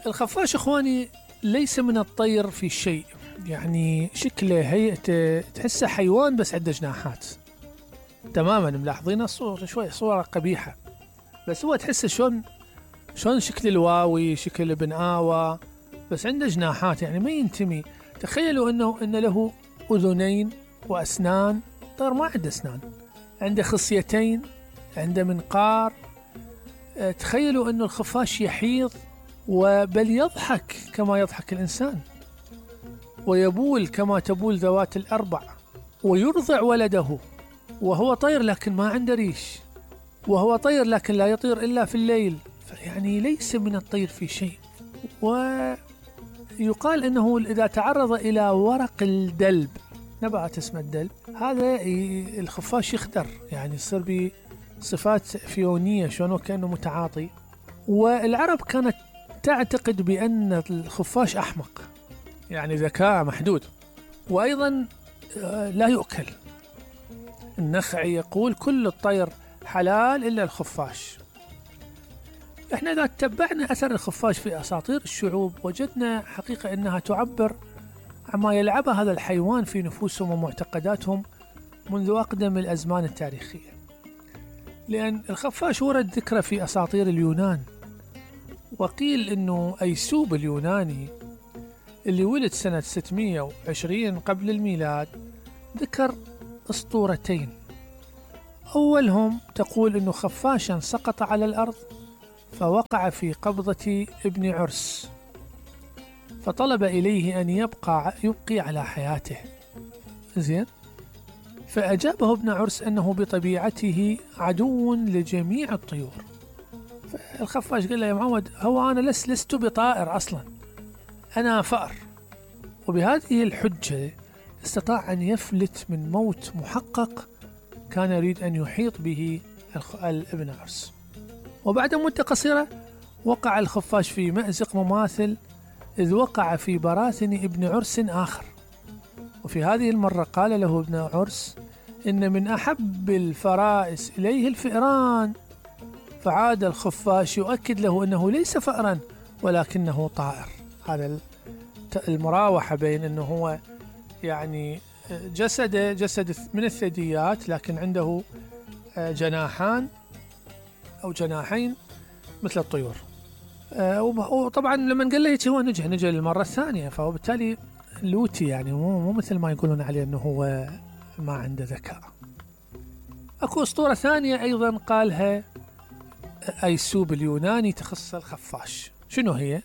الخفاش اخواني ليس من الطير في شيء، يعني شكله هيئته تحسه حيوان بس عنده جناحات تماما. ملاحظين الصورة شوي صورة قبيحة، بس هو تحسه شلون شكل الواوي، شكل ابن آوى، بس عنده جناحات، يعني ما ينتمي. تخيلوا ان له اذنين واسنان، طير ما عنده اسنان، عنده خصيتين، عنده منقار. تخيلوا انه الخفاش يحيض وبل يضحك كما يضحك الانسان، ويبول كما تبول ذوات الاربع، ويرضع ولده، وهو طير لكن ما عنده ريش، وهو طير لكن لا يطير الا في الليل، يعني ليس من الطير في شيء. ويقال انه اذا تعرض الى ورق الدلب، نبعة اسمها الدلب، هذا الخفاش يخدر، يعني يصير بصفات فيونية، شلون كأنه متعاطي. والعرب كانت تعتقد بأن الخفاش أحمق، يعني ذكاء محدود، وأيضا لا يؤكل. النخعي يقول كل الطير حلال إلا الخفاش. احنا إذا تتبعنا أثر الخفاش في أساطير الشعوب وجدنا حقيقة أنها تعبر عما يلعبه هذا الحيوان في نفوسهم ومعتقداتهم منذ أقدم الأزمان التاريخية. لأن الخفاش ورد ذكره في أساطير اليونان، وقيل أنه أيسوب اليوناني اللي ولد سنة 620 قبل الميلاد ذكر أسطورتين. أولهم تقول أنه خفاشا سقط على الأرض فوقع في قبضة ابن عرس، فطلب إليه أن يبقي على حياته. زين، فأجابه ابن عرس أنه بطبيعته عدو لجميع الطيور. فالخفاش قال له يا معود، هو أنا لست بطائر أصلا، أنا فأر. وبهذه الحجة استطاع أن يفلت من موت محقق كان يريد أن يحيط به ابن عرس. وبعد مدة قصيرة وقع الخفاش في مأزق مماثل، إذ وقع في براثن ابن عرس آخر، وفي هذه المرة قال له ابن عرس إن من أحب الفرائس إليه الفئران. فعاد الخفاش يؤكد له أنه ليس فأرا ولكنه طائر. هذا المراوحة بين أنه هو يعني جسد من الثدييات لكن عنده جناحان أو جناحين مثل الطيور. وطبعا لما قال له هيك هو نجى للمرة الثانية، فهو بالتالي لوتي، يعني مو مثل ما يقولون عليه أنه هو ما عنده ذكاء. أكو أسطورة ثانية أيضا قالها أيسوب اليوناني تخص الخفاش. شنو هي؟